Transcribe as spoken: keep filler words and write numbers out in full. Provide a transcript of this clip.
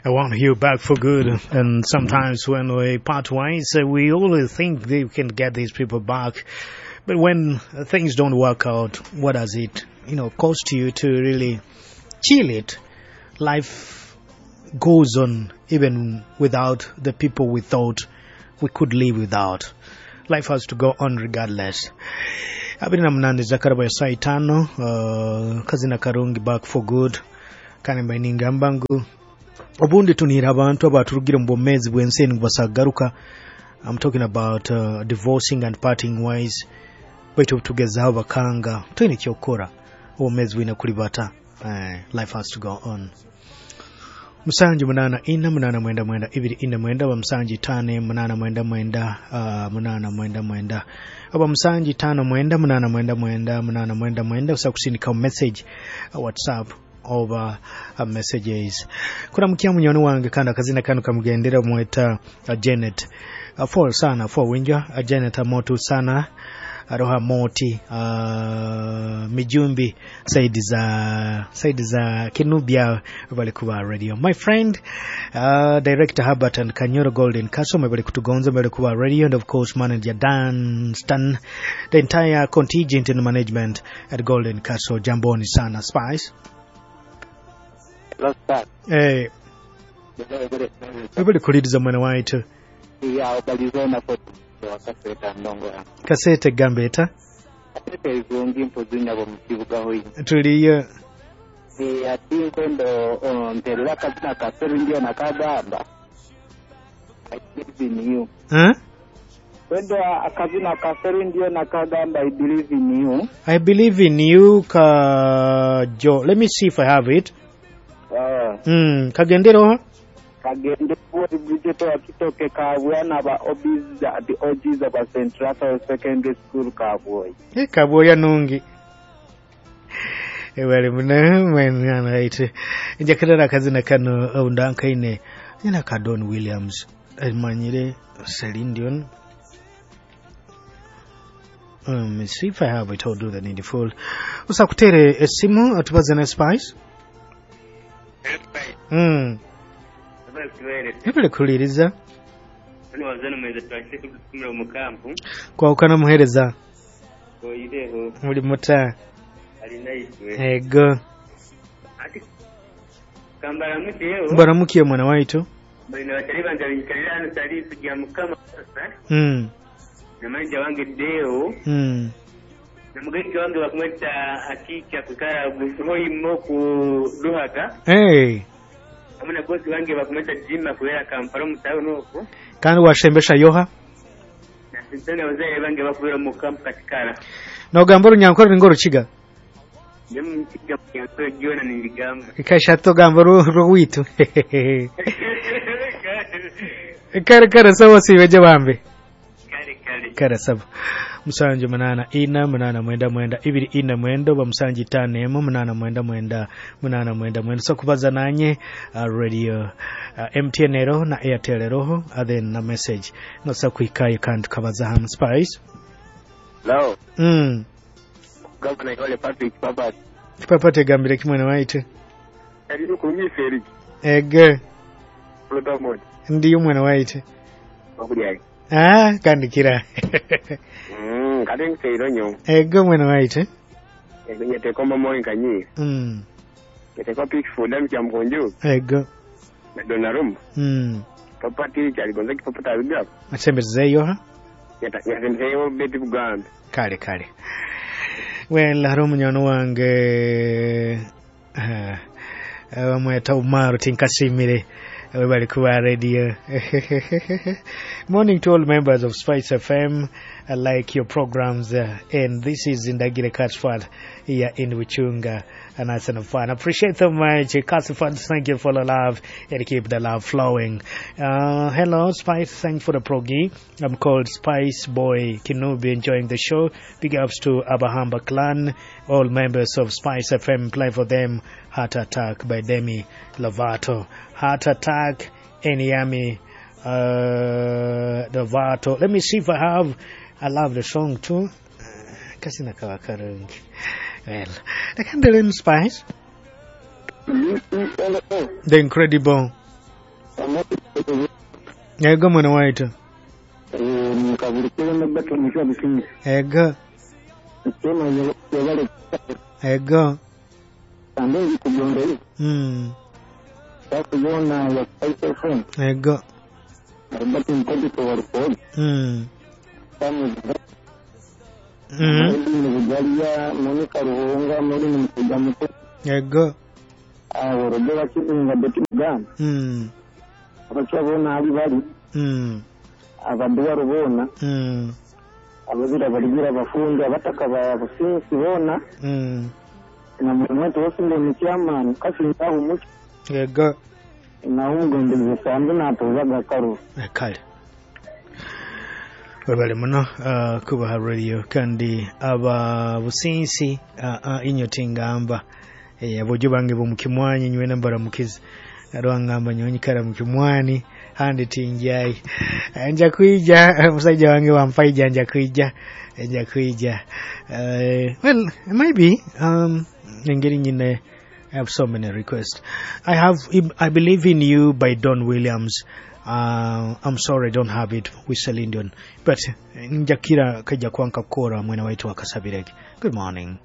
I want you back for good. And sometimes when we part ways, uh, we always think we can get these people back. But when things don't work out, what does it, you know, cost you to really chill it? Life goes on even without the people we thought we could live without. Life has to go on regardless. abiri na munane zakaraba ya saa itano uh, kazina karungi back for good kandi mbaine ningamba ngu obundi tunihira abantu abaturugire mu bwomezi bw'ensi enu basagaruka I'm talking about uh, divorcing and parting ways baitu obutugezaho bakanga toine kyokukora obwomezi bwine kulibata uh, life has to go on musanju munana ina munana mwenda mwenda ibiri ina mwenda oba musanju itano munana mwenda mwenda uh, munana mwenda mwenda oba musanju itano mwenda munana mwenda mwenda munana mwenda mwenda osobola kusindika message uh, whatsapp oba uh, messages kuramukia munywani wange kandi akazina kanu kamugendera mweta uh, Janet uh, for sana for winja uh, Janet amotu sana aroha moti uh, mijumbi side za side za Kinubia bali kuba radio my friend uh, director Herbert and Kanyoro Golden Castle bali kutugonza bali kuba radio and of course manager Dan Stan the entire contingent and management at Golden Castle jamboni sana Spice Hello, sir. eh bali kuliriza mwana waitu Ya obalizona ko wakaseta ndongo ya. kasete gambeta Kasete izungi mpozi nyabo mu kibuga hoyi. tuliyo Eh ati nkwendo oh, mperera akazina ka Seru nakagamba. I believe in you. huh? Kwendo akazina ka Seru ndio nakagamba I believe in you. I believe in you ka Jo let me see if I have it Uh, mm, kagendero kagende kuwa Bridget wa Kitoke kabwana ba OBs the OGs of St. Raphael Secondary School Kabwoyi. Eh, kabwoya nungi ebali muna mwana right njakarara akazina kano undankaine nyina ka Don Williams manyire Celine Dion Um, see if I have it, I'll do the needful. Usakutere esimu atubaze na Spice. Mm. Ebale kuliriza kwawukana muhereza oyireho muli muta alinaitwe ego ati kambaramukiyeho mbaramukiye mwana waitu balina batali bange binyikalira hano sali kujja mukama sasa mm. namanja wange deo Mm. namugaiga wange bakumweta akicha kukara gusohoimo ku duhaga Hey. hamwe na bosi wange bakumweta jima kubera kampala omutauni okwo kandi washembesha yoha nasintana abazaire bange bakubera mu kampu katikara nogamba orunyankore ninga orukiga nyomukiga munyankore gyona ningigamba kashato ogamba rwitu kare kare sawa sibeje bambe kale kale kare saba musanju munana ina munana mwenda mwenda ibiri ina mwenda oba musanju itano emu munana mwenda mwenda munana mwenda mwenda so kubaza nanye uh, radio uh, mtn eroho na airtel eroho uh, then na message nosa kuhikayo kandi tukabaza hamu spice Hello. mm. Governor Yole Patrick Papa. kipapate egambire kimwe waitu Ari kurumisa ege Protamon. ndiyo mwana waitu Wakulyayi. ah kandikira Mm, kati nseiro nyo. ego mwana waitu Nyeteko mama nkanyi. mm. Nyeteko Pickford amkya mkonjo ego na Donnarumma. mm. Papa ticha aligonza kipapa tabiga. asembezeyo ha Nyata nyasembeyo beti Buganda. kale kale well hariho omunywani wange eh, bamweta umaru tinkasimire webali kuba radio morning to all members of Spice FM I like your programs uh, and this is Indagire Catchford here in Wichunga and that's enough fun. Appreciate so much. Catchford, thank you for the love and keep the love flowing. Uh, hello, Spice. Thanks for the progi. I'm called Spice Boy Kinubi, enjoying the show. Big ups to Abahamba clan, all members of Spice F M. Play for them. Heart Attack by Demi Lovato. Heart Attack, Eniami uh, Lovato. Let me see if I have. I love the song too. Kasina kawa karungi. Well, the Candle Spice. The Incredible. Ego mwene waitu. Nkabulikire nabbato mukya businzi. Ego. Tema yebale. Ego. Ande kugonde. Mm. Takuyona ya Spice F M. Ego. Albert Mkondi kwa warukodi. Mm. Tamu. Mm. Ni Bujalia, Monica Ruhunga, muri ni Mkuja Muto. Ego. Awo Rogera Kibinga Beti Muganda. Mm. Abakya bona ali bali. Mm. Abaduwa bona. Mm. Abazira baligira abafundi abataka ba businsi bona. Mm. Na mwetu wose ni chairman kasi ndaho muki. Ego. Naho umugondezi sanze natuzaga karo. Kale webale muno uh, kubaha radio kandi aba businsi uh, uh, inyo tingamba eh, abojo bange bomukimwanyi nywena mbaramukizi arwangamba nyonyikara mukimwani handi tinjai. Eh, nja kwija musajja wange wampaija nja kwija nja kwija. uh, well maybe um, engeri nyine. I have so many requests. I have I Believe in You by Don Williams. Uh, I'm sorry, I don't have it with Celine Dion. But njakira kaja kwanka kora mwena waitu wakasabireke. Good morning.